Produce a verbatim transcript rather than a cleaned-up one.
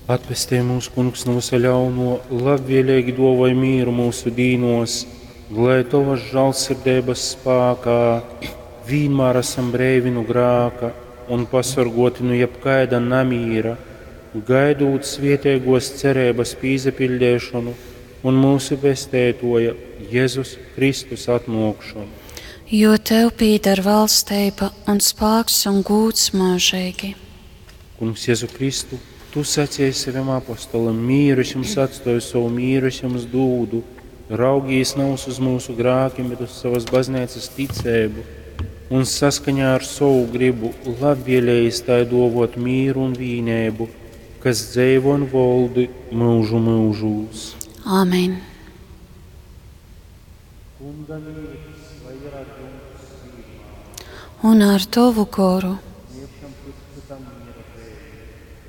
Atpestej mūs, Kungs, nu vysa ļauno, labvēlīgi duovoj mīru mūsu dīnos, lai Tovas žālsirdeibas spākā vīnmār esam breivi nu grāka un pasorgoti nu jebkaida namīra, gaidūt svieteigos cereibas pīsapiļdeišonu un mūsu Pesteitoja Jezus Kristus atnōkšonu. Jo tev pīdar valstība un spāks un gūds mūžīgi. Kungs Jezu Kristu, Tu sacīji saviem apostolim, mīru es jums atstoju, savu mīru es jums dūdu. Raugīs nav uz mūsu grākiem, bet uz savas baznīcas ticēbu un saskaņā ar savu gribu labvēlējis tai dovot mīru un vīnēbu, kas dzeivo un voldi mūžu mūžūs. Āmen. Kunga mīrs, lai ir ar jums vienmēr. Un ar tavu goru. Sniegšam cits citam miera zīmi.